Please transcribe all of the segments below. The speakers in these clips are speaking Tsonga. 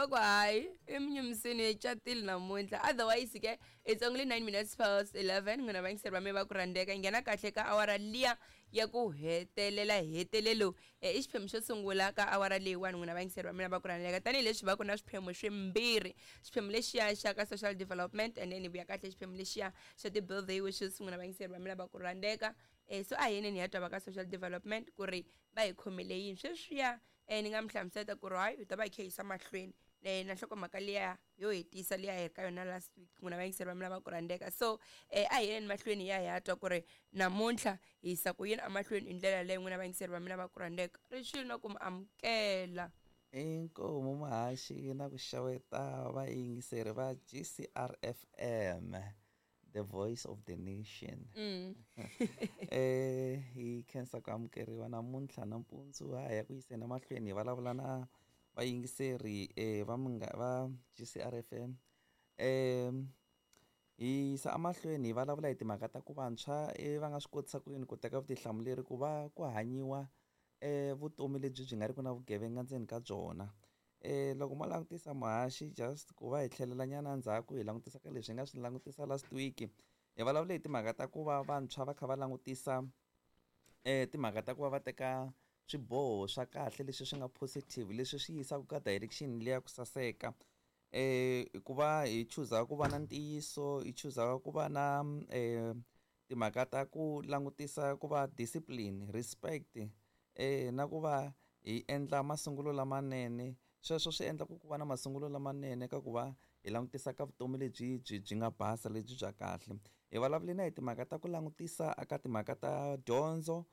Va ku hayi i munyumisini hi catile namuntlha. Otherwise ke it's only 9 minutes past 11, n'wina vayingiseri va me va ku rhandzeka, hi nghena kahle ka awara liya ya ku hetelela hetelelo. I xiphemu xo sungula ka awara leyiwani, n'wina vayingiseri va mina va ku rhandzeka, tanihileswi va ku na swiphemu swimbirhi, xiphemu lexiya xa ka social development and then hi vuya kahle xiphemu lexiya xa ti-birthday wishes, n'wina vayingiseri va mina va ku rhandzeka. So a hi yeneni hi ya twa va ka social development ku ri va hi khomele yini sweswiya. Ni nga mi hlamuseta ku ri hayi hi ta va hi kha hi yisa mahlweni na nhlokomhaka liya yo hetisa liya hi ri ka yona last week, n'wina vayingiseri va mina va ku rhandzeka. So a hi yeni mahlweni hi ya hi ya twa ku ri namuntlha hi yisa ku yini emahlweni hi ndlela leyi, n'wina vayingiseri va mina va ku rhandzeka. Ri xilo na ku mi amukela. Inkomu muhaxi na ku xeweta vayingiseri va GCRFM, the voice of the nation. Hi khensa ku amukeriwa namuntlha nampundzu, ha ya ku yiseni emahlweni hi vulavula na vayingiseri va munga va GCRFM. Hi yisa emahlweni hi vulavula hi timhaka ta ku vantshwa va nga swi kotisa ku yini ku teka vutihlamuleri ku va ku hanyiwa vutomi lebyi byi nga ri ku na vugevenga ndzeni ka byona. Loko mo langutisa muhaxi, just ku va hi tlhelela nyana ndzhaku hi langutisa ka leswi hi nga swi langutisa last week, hi vulavule hi timhaka ta ku va vantshwa va kha va langutisa timhaka ta ku va va teka swiboho swa kahle leswi swi nga positive, leswi swi yisaka ka direction liya ku saseka. Ku va hi chuza ku va na ntiyiso, hi chuza ku va na timhaka ta ku langutisa ku va discipline, respect, na ku va hi endla masungulo lamanene. Sweswo swi endla ku ku va na masungulo lamanene ka ku va hi langutisa ka vutomi lebyi byi byi nga basa, lebyi bya kahle. Hi vulavule na hi timhaka ta ku langutisa aka timhaka ta dyondzo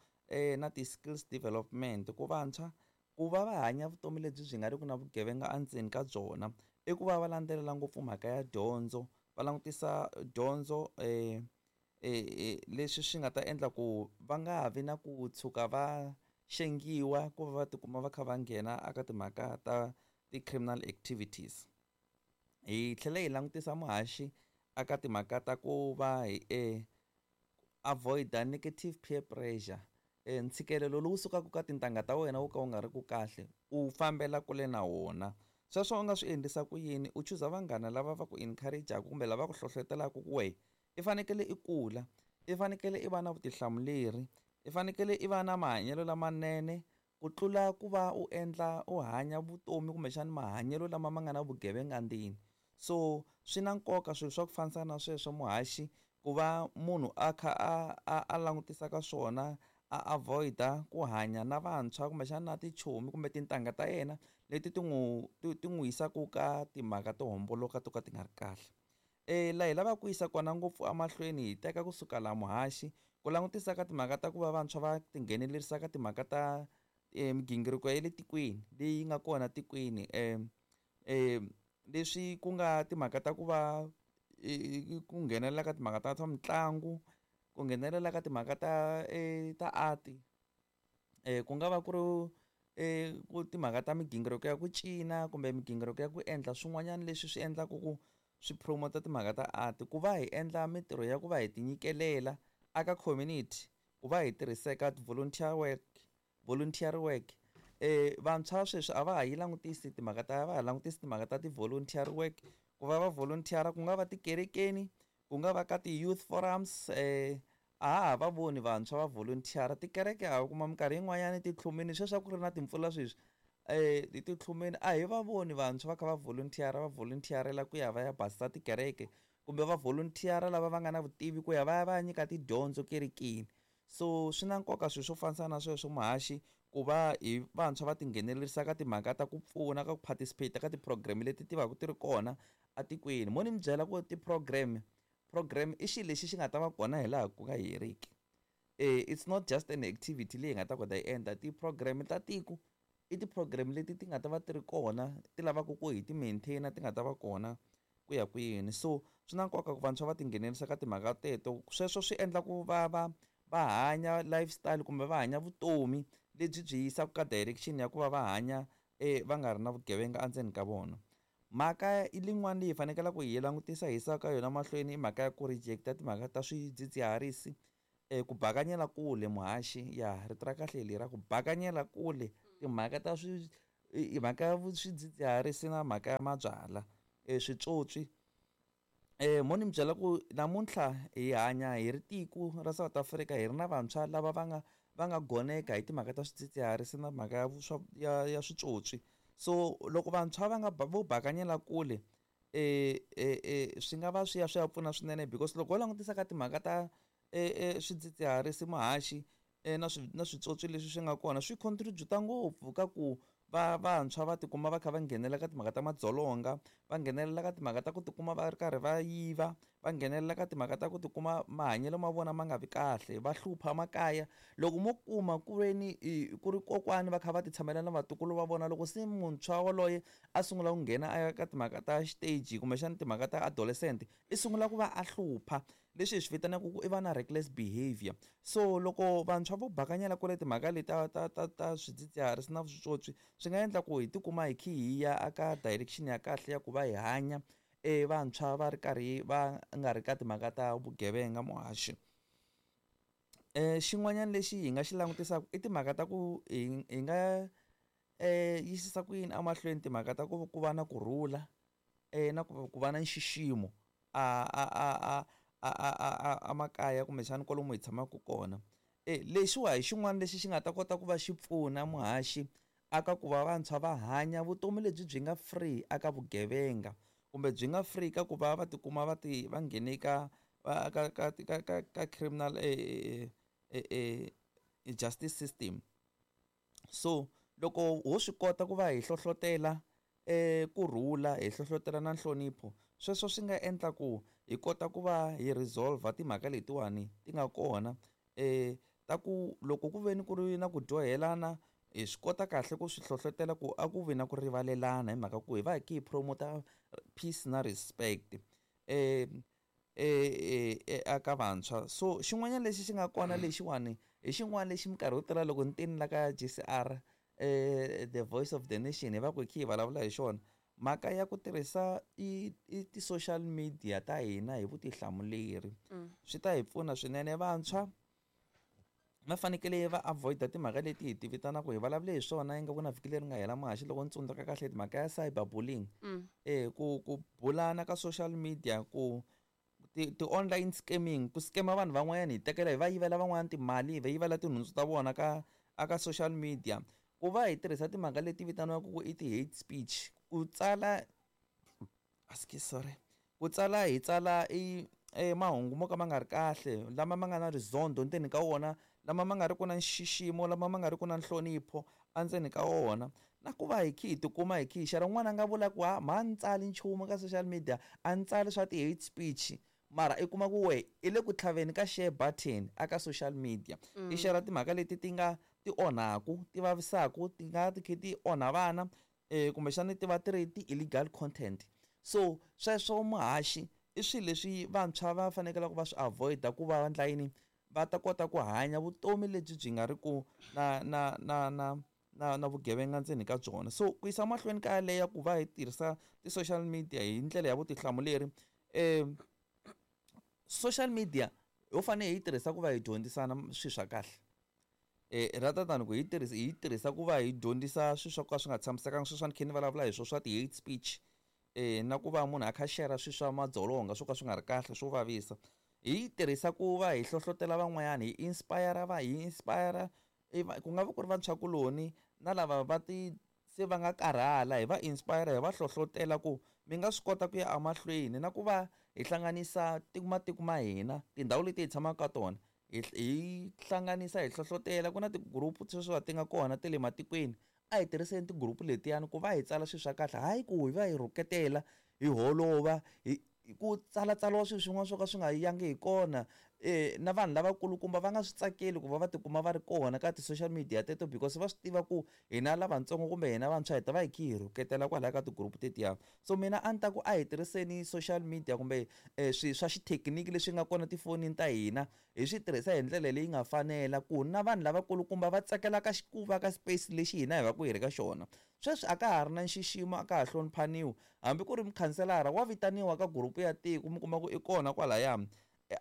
na ti-skills development, ku vantshwa ku va va hanya vutomi lebyi byi nga ri ku na vugevenga endzeni ka byona i ku va va landzelela ngopfu mhaka ya dyondzo, va langutisa dyondzo leswi swi nga ta endla ku va nga vi na ku tshuka va xengiwa ku va va tikuma va kha va nghena aka timhaka ta ti-criminal activities. Hi tlhela hi langutisa muhaxi aka timhaka ta ku va hi avoid-a negative peer pressure, ntshikelelo lowu sukaka ka tintangha ta wena wo ka wu nga ri ku kahle, u fambela kule na wona. Sweswo u nga swi endlisa ku yini? U chuza vanghana lava va ku encourage-aka kumbe lava ku hlohlotelaka ku wehe i fanekele i kula, i fanekele i va na vutihlamuleri, i fanekele i va na mahanyelo lamanene ku tlula ku va u endla u hanya vutomi kumbexana mahanyelo lama ma nga na vugevenga ndzeni. So swi na nkoka swilo swa ku fambisana na sweswo muhaxi, ku va munhu a kha a langutisa ka swona, a avoid-a ku hanya na vantshwa kumbexana na tichomi kumbe tintangha ta yena leti ti n'wi ti n'wi yisaka ka timhaka to homboloka to ka ti nga ri kahle. Laha hi lavaka ku yisa kona ngopfu emahlweni, hi teka kusuka laha muhaxi ku langutisa ka timhaka ta ku va vantshwa va tinghenelerisa ka timhaka ta migingiriko ya le tikweni leyi nga kona tikweni, leswi ku nga timhaka ta ku va ku nghenelela ka timhaka ta swa mitlangu, ku nghenelela ka timhaka ta ta art, ku nga va ku ri ku timhaka ta migingiriko ya ku cina kumbe migingiriko ya ku endla swin'wanyana leswi swi endlaka ku swi promote timhaka ta art, ku va hi endla mintirho ya ku va hi tinyikelela aka community, ku va hi tirhiseka volunteer work, voluntary work. Vantshwa sweswi a va ha yi langutisi timhaka ta, va ha langutisi timhaka ta ti-volunteer work, ku va va volunteer ku nga va tikerekeni, ku nga va ka ti-youth forums. A ha ha va voni vantshwa va volunteer tikereke, a kuma minkarhi yin'wanyani titlhumini sweswi a ku ri na timpfula sweswi titlhumini a hi va voni vantshwa va kha va volunteer, va volunteerela ku ya va ya basisa tikereke kumbe va volunteer lava va nga na vutivi ku ya va ya va ya nyika tidyondzo kerekeni. So swi na nkoka swilo swo fambisana na sweswo muhaxi, ku va hi vantshwa va tinghenelerisa ka timhaka ta ku pfuna ka ku participate ka ti-program leti ti va ku ti ri kona etikweni. Mo ni mi byela ku ti-program, program i xilo lexi xi nga ta va kona hi laha ku nga heriki. It's not just an activity leyi hi nga ta kota yi endla. Ti-program ta tiko i ti-program leti ti nga ta va ti ri kona, ti lavaka ku hi ti maintain-a, ti nga ta va kona ku ya kwini. So swi na nkoka ku vantshwa va tinghenelerisa ka timhaka teto. Sweswo swi endla ku va va va hanya lifestyle kumbe va hanya vutomi lebyi byi yisaka ka direction ya ku va va hanya va nga ri na vugevenga endzeni ka vona. Mhaka lin'wana leyi hi fanekele ku hi langutisa hi yisa ka yona mahlweni i mhaka ya ku reject-a timhaka ta swidzidziharisi, ku bakanyela kule muhaxi, ya rito ra kahle leri ra ku bakanyela kule timhaka ta I mhaka ya swidzidziharisi na mhaka ya mabyalwa switswotswi. Mo ni mi byela ku namuntlha hi hanya hi ri tiko ra South Africa hi ri na vantshwa lava va nga goneka hi timhaka ta swidzidziharisi na mhaka ya swa ya switswotswi. So loko vantshwa va nga vo bakanyela kule swi nga va swi ya pfuna swinene, because loko ho langutisa ka timhaka ta swidzidziharisi, muhaxi, na switswotswi leswi swi nga kona swi contribute ngopfu ka ku va vantshwa va tikuma va kha va nghenelela ka timhaka ta madzolonga, va nghenelela ka timhaka ta ku tikuma va ri karhi va yiva, va nghenelela ka timhaka ta ku tikuma mahanyelo ma vona ma nga vi kahle, va hlupha makaya. Loko mo kuma ku ve ni ku ri kokwani va kha va ti tshamela na vatukulu va vona, loko se muntshwa waloye a sungula ku nghena a ya ka timhaka ta xiteji kumbexana timhaka ta adolescent, i sungula ku va a hlupha, leswi hi swi vitanaka ku i va na reckless behavior. So loko vantshwa vo bakanyela kule timhaka leti ta swidzidziharisi na switswotswi, swi nga endla ku hi tikuma hi kha hi ya aka direction ya kahle ya ku va hi hanya vantshwa va ri karhi va nga ri ka timhaka ta vugevenga, muhaxi. Xin'wanyana lexi hi nga xi langutisaka i timhaka ta ku hi nga yisisa ku yini emahlweni timhaka ta ku va na kurhula na ku va na nxiximo a makaya kumbexana kwalomu hi tshamaka kona. Lexiwa hi xin'wana lexi xi nga ta kota ku va xi pfuna, muhaxi, aka ku va vantshwa va hanya vutomi lebyi byi nga free aka vugevenga kumbe byi nga free ka ku va va tikuma va ti va nghene ka criminal justice system. So loko ho swi kota ku va hi hlohlotela kurhula, hi hlohlotela na nhlonipho, sweswo swi nga endla ku hi kota ku va hi resolve timhaka letiwani ti nga kona ta ku loko ku ve ni ku ri na ku dyohelana, hi swi kota kahle ku swi hlohlotela ku a ku vi na ku rivalelana, hi mhaka ku hi va hi kha hi promote peace na respect aka vantshwa. So xin'wanyana lexi xi nga kona lexiwani hi xin'wana lexi minkarhi yo tala loko ni tini la ka JCR, the voice of the nation, hi va ku hi kha hi vulavula hi xona mhaka ya ku tirhisa i ti-social media ta hina hi vutihlamuleri. Swi ta hi pfuna swinene. Vantshwa va fanekele va avoid timhaka leti hi ti vitanaka, hi vulavule hi swona ingaku na vhiki leri nga hela, muhaxi, loko ni tsundzuka kahle, timhaka ya cyber bullying, ku bulana ka social media, ku ti-online scamming, ku scamma vanhu van'wanyana, hi tekela hi va yivela van'wanyana timali, hi va yivela tinhundzu ta vona ka aka social media, ku va hi tirhisa timhaka leti vitaniwaka ku i ti-hate speech, ku tsala, askies, sorry, ku tsala hi tsala i mahungu mo ka ma nga ri kahle, lama ma nga na rizondho ndzeni ka wona, lama ma nga ri ku na nxiximo, lama ma nga ri ku na nhlonipho endzeni ka wona, na ku va hi kha hi tikuma hi kha hi share. Un'wana a nga vula ku ha mha ni tsali nchumu ka social media, a ni tsali swa ti-hate speech, mara i kuma ku we i le ku tlhaveni ka share button aka social media, i share timhaka leti ti nga ti onhaku, ti vavisaku, ti nga ti kha ti onha vana, kumbexana ti va ti ri ti-illegal content. So sweswo, muhaxi, i swilo leswi vantshwa va fanekele ku va swi avoid-a ku va endla yini, va ta kota ku hanya vutomi lebyi byi nga ri ku na vugevenga ndzeni ka byona. So ku yisa mahlweni ka yaleyo ku va hi tirhisa ti-social media hi ndlela ya vutihlamuleri, social media ho fanele hi yi tirhisa ku va hi dyondzisana swilo swa kahle, rather than ku hi yi tirhisa ku va hi dyondzisa swilo swa ka swi nga tshamisekanga. Sweswi ni kha ni vulavula hi swona swa ti-hate speech, na ku va munhu a kha share swilo swa madzolonga swo ka swi nga ri kahle, swo vavisa. Hi yi tirhisa ku va hi hlohlotela van'wanyana, hi inspire, va hi inspire ku nga va ku ri vantshwakuloni na lava va ti se va nga karhala, hi va inspire, hi va hlohlotela ku mi nga swi kota ku ya emahlweni, na ku va hi hlanganisa matiko ma hina, tindhawu leti hi tshamaka ka tona, hi hlanganisa, hi hlohlotela. Ku na ti-group sweswi ti nga kona ta le matikweni, a hi tirhiseni ti-group letiyani ku va hi tsala swilo swa kahle, hayi ku hi va hi rhuketela, hi holova, hi ku tsalatsariwa swilo swin'wana swo ka swi nga yangi hi kona, na vanhu lavakulukumba va nga swi tsakeli ku va va tikuma va ri kona ka ti-social media teto, because va swi tiva ku hina lavatsongo kumbe hina vantshwa hi ta va hi kha hi rhuketela kwalaya ka ti-group tetiya. So mina a ni ta ku a hi tirhiseni social media kumbe swilo swa xithekiniki leswi nga kona tifonini ta hina, hi swi tirhisa hi ndlela leyi nga fanela, ku na vanhu lavakulukumba va tsakelaka ku va ka space lexi hina hi va ku hi ri ka xona. Sweswi a ka ha ri na nxiximo, a ka ha hloniphaniwi, hambi ku ri mukhanselara wa vitaniwa ka group ya tiko, mi kuma ku i kona kwalaya,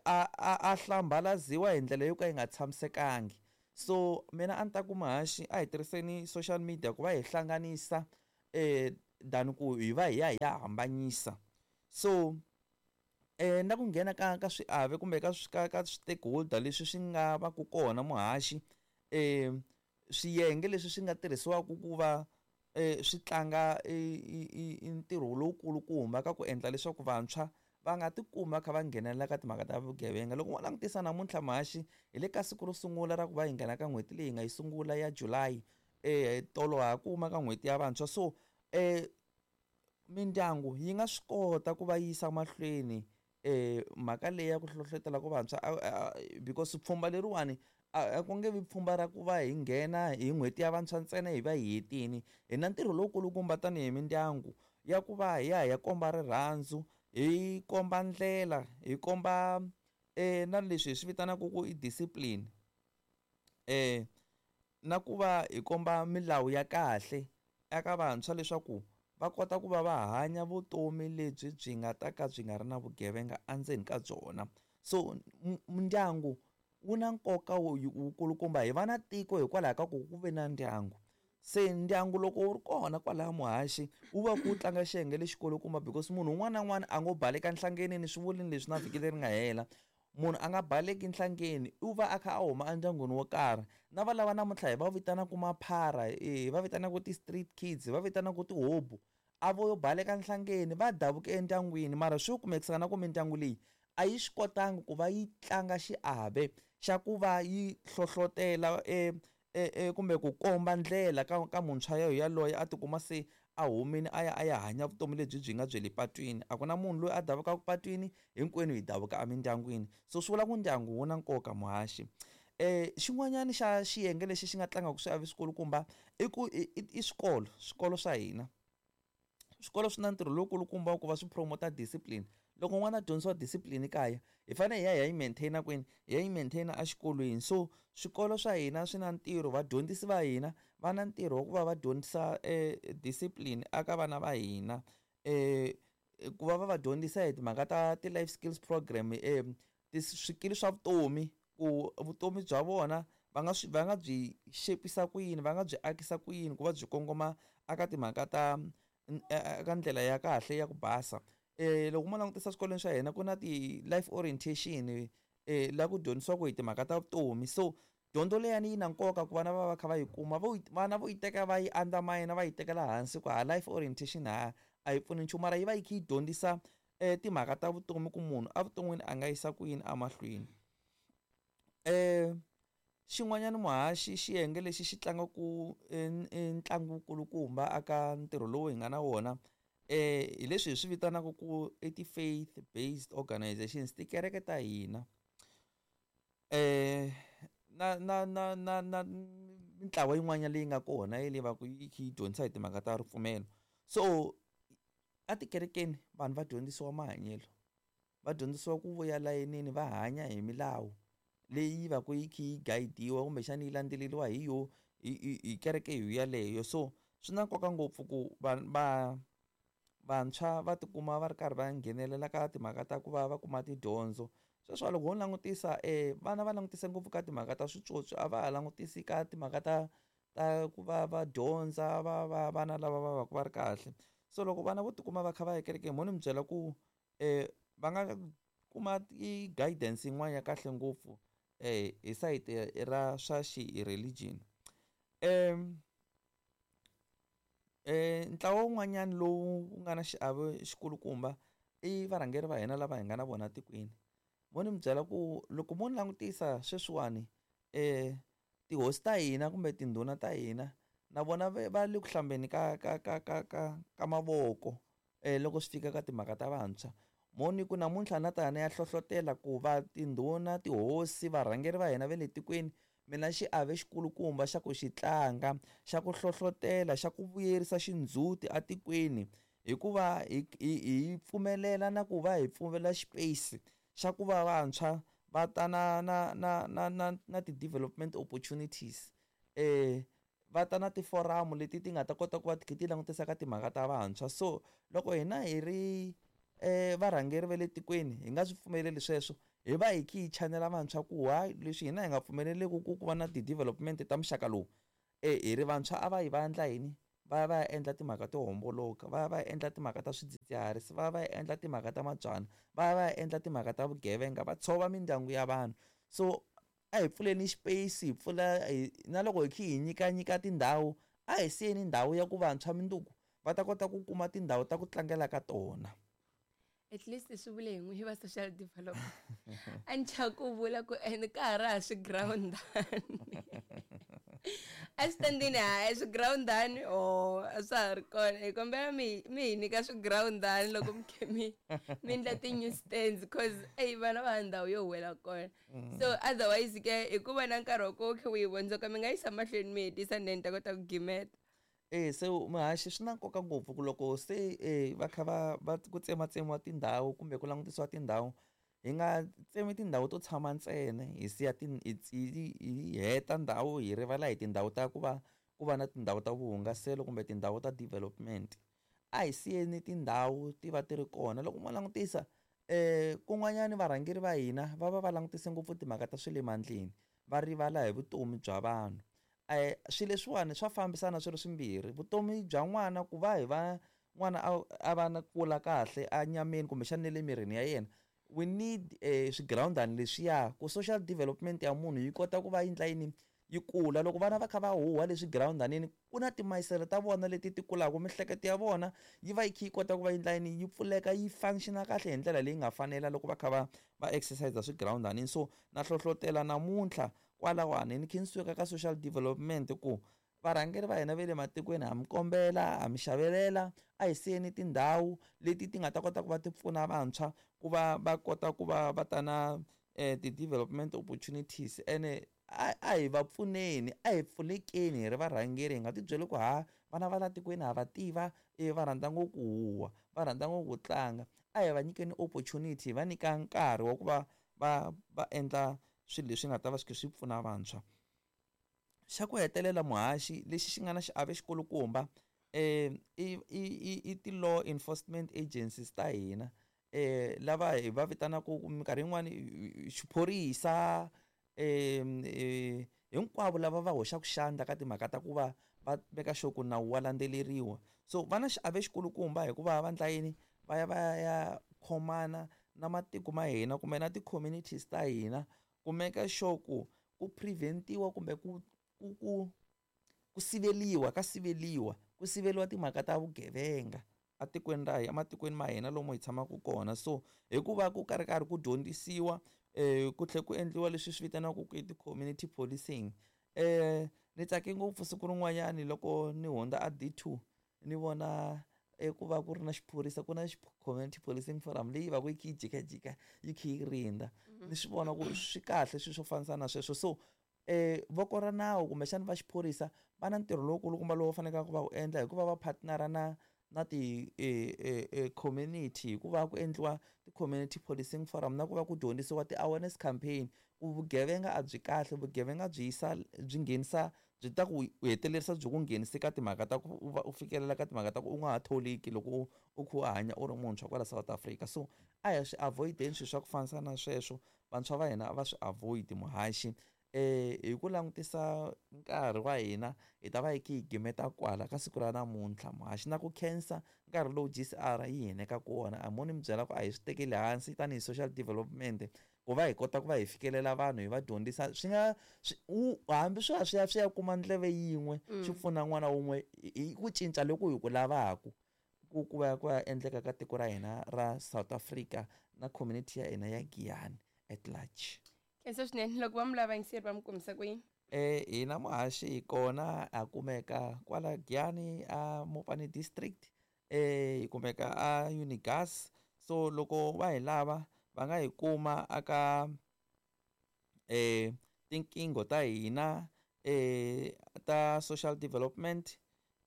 a hlambalaziwa hi ndlela yo ka yi nga tshamisekangi. So mina a ni ta ku muhaxi a hi tirhiseni social media ku va hi hlanganisa than ku hi va hi ya hi ya hambanyisa. So na ku nghena ka swiave kumbe ka stakeholder leswi swi nga va ku kona muhaxi, swiyenge leswi swi nga tirhisiwaka ku va swi tlanga ntirho lowukulukumba ka ku endla leswaku vantshwa va nga tikumi va kha va nghenelela ka timhaka ta vugevenga. Loko mo langutisa namuntlha muhaxi, hi le ka siku ro sungula ra ku va hi nghena ka n'hweti leyi hi nga yi sungula ya July, tolo ha kuma ka n'hweti ya vantshwa. So mindyangu yi nga swi kota ku va yisa mahlweni mhaka leyi ya ku hlohlotela ku vantshwa, because pfhumba leriwani a ku nge vi pfhumba ra ku va hi nghena hi n'hweti ya vantshwa ntsena hi va hi hetini. Hi na ntirho lowukulukumba tanihi mindyangu ya ku va hi ya hi ya komba rirhandzu, hi komba ndlela, hi komba na leswi hi swi vitanaka ku i discipline, na ku va hi komba milawu ya kahle eka vantshwa leswaku va kota ku va va hanya vutomi lebyi byi nga ta ka byi nga ri na vugevenga endzeni ka byona. So ndyangu wu na nkoka wukulukumba. Hi va na tiko hikwalaho ka ku ku ve na ndyangu. Se ndyangu loko wu ri kona kwalaya muhaxi wu va ku tlanga xiyenge lexikulukumba, because munhu un'wana na un'wana a ngo baleka nhlangeni, ni swi vulini leswi na vhiki leri nga hela. Munhu a nga baleki nhlangeni, u va a kha a huma endyangwini wo karhi. Na va lava namuntlha hi va vitanaka maphara, hi va vitanaka ti-street kids, hi va vitanaka tihobu, a vo baleka nhlangeni, va davuke endyangwini. Mara swi kumekisana na ku mindyangu leyi a yi swi kotangi ku va yi tlanga xiave xa ku va yi hlohlotela kumbe ku komba ndlela ka muntshwa yaloye a tikuma se a humile a ya a ya hanya vutomi lebyi byi nga bya le patwini. A ku na munhu loyi a davukaka patwini, hinkwenu hi davuka emindyangwini. So swi vula ku ndyangu wu na nkoka muhaxi. Xin'wanyana xa xiyenge lexi xi nga tlangaka swiave swikulukumba i ku i swikolo, swikolo swa hina. Swikolo swi na ntirho lowukulukumba wa ku va swi promote discipline. Loko n'wana a dyondzisiwa discipline kaya, hi fanele hi ya hi ya yi maintain kwini? Hi ya yi maintain exikolweni. So swikolo swa hina swi na ntirho, vadyondzisi va hina va na ntirho wa ku va va dyondzisa discipline eka vana va hina, ku va va va dyondzisa hi timhaka ta ti-life skills program, swikili swa vutomi, ku vutomi bya vona va nga swi va nga byi xepisa ku yini, va nga byi akisa ku yini ku va byi kongoma eka timhaka ta eka ndlela ya kahle ya ku basa. Loko mo langutisa swikolweni swa hina ku na ti-life orientation, la ku dyondzisiwaka hi timhaka ta vutomi. So dyondzo leyani yi na nkoka ku vana va va kha va yi kuma, vana vo yi teka va yi undermine, va yi tekela hansi ku ha life orientation ha a yi pfuni nchumu, mara yi va yi kha yi dyondzisa timhaka ta vutomi ku munhu evuton'wini a nga yisa ku yini emahlweni. Xin'wanyana muhaxi, xiyenge lexi xi tlangaka ntlangu wukulukumba eka ntirho lowu hi nga na wona, hi leswi hi swi vitanaka ku i ti-faith based organizations, tikereke ta hina, na na na na na mintlawa yin'wana leyi nga kona leyi va ku yi kha yi dyondzisa hi timhaka ta ripfumelo. So etikerekeni vanhu va dyondzisiwa mahanyelo, va dyondzisiwa ku vuya layinini, va hanya hi milawu leyi va ku yi kha yi guide-iwa kumbexana yi landzeleriwa hi yo hi kereke yo yaleyo. So swi na nkoka ngopfu ku va vantshwa va tikuma va ri karhi va nghenelela ka timhaka ta ku va va kuma tidyondzo. Sweswo loko ho langutisa, vana va langutise ngopfu ka timhaka ta switsotsi, a va ha langutisi ka timhaka ta ku va va dyondza, va va vana lava va va ku va ri kahle. So loko vana vo tikuma va kha va ya ekerekeni, mo ni mi byela ku va nga kuma i-guidance yin'wana ya kahle ngopfu hi sayiti ra swa xi-religion. Ntlawa wun'wanyana lowu nga na xiave xikulukumba i varhangeri va hina lava hi nga na vona tikweni. Mo ni mi byela ku loko mo ni langutisa sweswiwani, tihosi ta hina kumbe tindhuna ta hina na vona va le ku hlambeni ka mavoko loko swi fika ka timhaka ta vantshwa. Mo ni ku namuntlha na ta na ya hlohlotela ku va tindhuna, tihosi, varhangeri va hina va le tikweni mi na xiave xikulukumba xa ku xi tlanga, xa ku hlohlotela, xa ku vuyerisa xindzhuti etikweni, hikuva hi pfumelela na ku va hi pfumelela xipeyisi xa ku va vantshwa va ta na na na na na na ti-development opportunities, va ta na tiforamu leti ti nga ta kota ku va ti kha ti langutisa ka timhaka ta vantshwa. So loko hina hi ri varhangeri va le tikweni hi nga swi pfumeleli sweswo, Hi va hi kha hi chanela vantshwa ku hayi leswi hina hi nga pfumeleleki ku ku va na ti-development ta muxaka lowu, hi ri vantshwa a va yi va endla yini? Va ya va ya endla timhaka to homboloka, va ya va ya endla timhaka ta swidzidziharisi, va ya va ya endla timhaka ta mabyalwa, va ya va ya endla timhaka ta vugevenga, va tshova mindyangu ya vanhu. So a hi pfuleni xipeyisi, hi pfula hi na loko hi kha hi nyikanyika tindhawu, a hi siyeni ndhawu ya ku vantshwa mundzuku va ta kota ku kuma tindhawu ta ku tlangela ka tona. At least swi vule hi n'wi va social development. A ni chava ku vula ku and ka ha ri ha swigirawundani eswitandini, hayi swigirawundani o a swa ha ri kona. Hi kombela mi hi nyika swigirawundani loko mi khe mi endla ti-new stands, cause eyi vana va ha ndhawu yo huwela kona. So otherwise ke hi ku va na nkarhi wa ku khe u yi vondzoka, mi nga yisa mahlweni mi hetisa, then ni ta kota ku gimeta. E se muhaxi, swi na nkoka ngopfu ku loko se va kha va ku tsematsemiwa tindhawu kumbe ku langutisiwa tindhawu, hi nga tsemi tindhawu to tshama ntsena, hi siya hi heta ndhawu, hi rivala hi tindhawu ta ku va na tindhawu ta vuhungaselo kumbe tindhawu ta development. A hi siyeni tindhawu ti va ti ri kona. Loko mo langutisa kun'wanyani, varhangeri va hina va va va langutise ngopfu timhaka ta swa le mandleni, va rivala hi vutomi bya vanhu. Swilo leswiwani swa fambisana swi ri swimbirhi. Vutomi bya n'wana, ku va hi va n'wana a va na kula kahle enyameni kumbexana na le mirini ya yena, we need swigirawundani leswiya ku social development ya munhu yi kota ku va yi endla yini, yi kula. Loko vana va kha va huha leswi girawundanini, ku na timayisele ta vona leti ti kulaka, miehleketo ya vona yi va yi kha yi kota ku va yi endla yini, yi pfuleka, yi functiona kahle hi ndlela leyi nga fanela loko va kha va exercise swigirawundanini. So na hlohlotela namuntlha kwalawani ni kha ni suka ka social development ku varhangeri va hina va le matikweni, ha mi kombela, ha mi xavelela, a hi siyeni tindhawu leti ti nga ta kota ku va ti pfuna vantshwa ku va va kota ku va va ta na ti-development opportunities. Ene a hi va pfuneni, a hi pfunekeni hi ri varhangeri. Hi nga ti byeli ku ha vana va la tikweni ha va tiva, e va rhandza ngopfu ku huwa, va rhandza ngopfu ku tlanga. A hi va nyikeni opportunity, hi va nyika nkarhi wa ku va va endla swilo leswi nga ta va swi kha swi pfuna vantshwa. Xa ku hetelela, muhaxi, lexi xi nga na xiave xikulukumba i ti-law enforcement agencies ta hina, lava hi va vitanaka minkarhi yin'wani xiphorisa, hinkwavo lava va hoxaka xandla ka timhaka ta ku va va veka sure ku nawu wa landzeleriwa. So va na xiave xikulukumba hikuva va endla yini? Va ya va ya khomana na matiko ma hina kumbe na ti-communities ta hina ku make sure ku preventiwa kumbe ku siveliwa ka siveliwa ku siveliwa timhaka ta vugevenga atikweni ra hina, ematikweni ma hina lomu hi tshamaka kona. So hikuva ku karhi karhi ku dyondzisiwa, ku tlhela ku endliwa leswi swi vitaniwaka ku i ti-community policing. Ni tsake ngopfu siku rin'wanyani loko ni hundza a D2, ni vona ku va ku ri na xiphorisa, ku na community policing forum leyi va ku yi kha yi jikajika, yi kha yi rindza. Ni swi vona ku swi kahle swilo swo fambisana na sweswo. So voko ra nawu kumbexana va xiphorisa va na ntirho lowukulukumba lowu faneleke ku va wu endla hikuva va partnera na ti community, hikuva ku endliwa ti-community policing forum na ku va ku dyondzisiwa ti-awareness campaign ku vugevenga a byi kahle, vugevenga byi yisa, byi nghenisa, byi ta ku hetelerisa byi ku nghenise ka timhaka ta ku u va u fikelela ka timhaka ta ku u nga ha tholeki loko u kha u hanya u ri muntshwa kwala South Africa. So a hi swi avoideni swilo swa ku fambisana na sweswo. Vantshwa va hina a va swi avoid. Muhaxi, hi ku langutisa nkarhi wa hina, hi ta va hi kha hi gimeta kwala ka siku ra namuntlha. Muhaxi, na ku khensa nkarhi lowu GCR yi hi nyikaka wona. A mo ni mi byela ku a hi swi tekeli hansi tanihi social development ku va hi kota ku va hi fikelela vanhu, hi va dyondzisa. Swi nga hambi swi ya kuma ndleve yin'we, swi pfuna n'wana wun'we hi ku cinca loku hi ku lavaku ku va endleka ka tiko ra hina ra South Africa na community ya hina ya Giyani at large. Khensa swinene. Loko va mi lava yingiseri, va mi kumisa ku yini? Hina muhaxi hi kona, ha kumeka kwala Giyani a Mopani District, hi kumeka a Unigas. So loko va hi lava, va nga hi kuma aka tinqingho ta hina ta social development,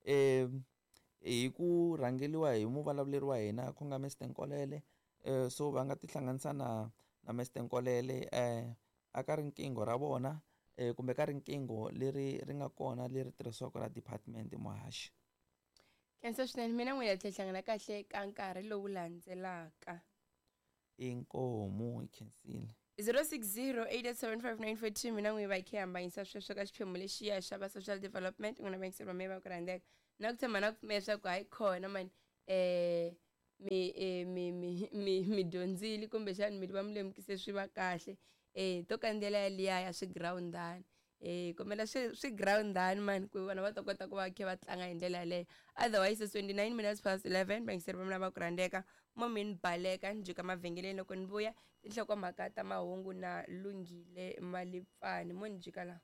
hi ku rhangeliwa hi muvulavuleri wa hina ku nga Mr Nkolele. So va nga tihlanganisa na Mr Nkolele aka riqingho ra vona kumbe ka riqingho leri ri nga kona leri tirhisiwaka ra department, muhaxi. Khensa swinene. Mina n'wina tlhela hlangana kahle ka nkarhi lowu landzelaka. Inkomu, hi khensile. 0608875942 mina n'wi va hi khe hambanyisa sweswo ka xiphemu lexiya xa va social development n'wina vayingiseri va mehe va ku rhandzeka na ku tshemba na ku pfumela leswaku hayi khona mani um mi mi mi mi mi dyondzile kumbexani mi va mi lemukise swi va kahle um to kandziyela yaliya ya swigirawundani um kombela swi swigirawundani mani ku vana va ta kota ku va khe va tlanga hi ndlela yaleyo. Otherwise, it's 29 minutes past 11, vayingiseri va mina va ku rhandzeka, mo mi ni baleka ni jika mavhengeleni loko ni vuya tinhlokomhaka ta mahungu na Lunghile Malipfani mo ni jika laha.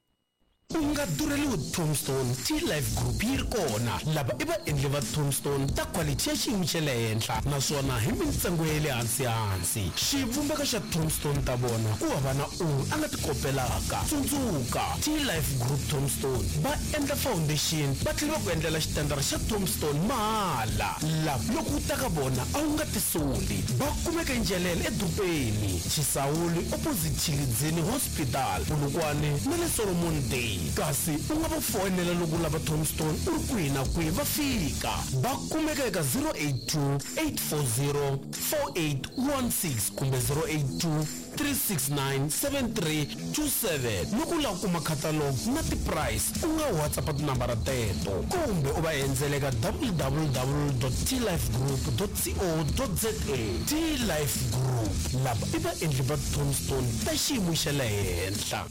U nga durheliwi Tombstone, T-Life Group yi ri kona. Lava i vaendli va Tombstone ta khwalithi ya xiyimo xa le henhla naswona hi mintsengo ya le hansi-hansi. Xivumbeko xa Tombstone ta vona ku hava na un'we a nga ti kopelaka. Tsundzuka, T-Life Group Tombstone va endla foundation va tlhela va ku endlela xitandara xa Tombstone mahala. Lava loko u ta ka vona a wu nga tisoli. Va kumeka eNjelele edorobeni, Chisawuli opposite Tshilidzini Hospital, Polokwane na le Solomon Day. Kasi u nga va foyinela loko u lava Tombstone u ri kwihi na kwihi va fika. Va kumeka eka 082 840 4816 kumbe 082 369 7327. Loko u lava ku kuma catalogue na ti-price u nga WhatsApp tinambara teto kumbe u va endzela eka www.tlifegroup.co.za. T-Life Group, lava i vaendli va Tombstone ta xiyimo xa le henhla.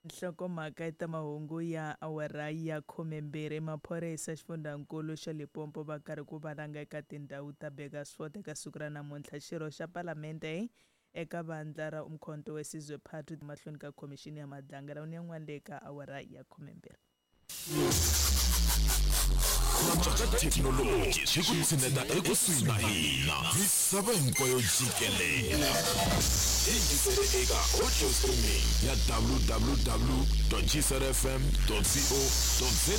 Nhlokomhaka ta mahungu ya awara ya 12. Maphorisa xifundzankulu xa Limpopo va karhi ku valanga eka tindhawu ta Burgersfort eka siku ra namuntlha. Xirho xa palamende eka vandla ra Umkhonto we Sizwe Party mahlweni ka khomixini ya Madlanga ni yan'wana le ka awara ya 12. Ku cinca ka thekinoloji swi ku tshineta ekusuhi na hina misava hinkwayo jikelela. Yingisele eka audio streaming ya www.gcrfm.co.za.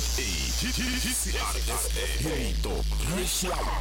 GCRFM, hi rito ra rixaka.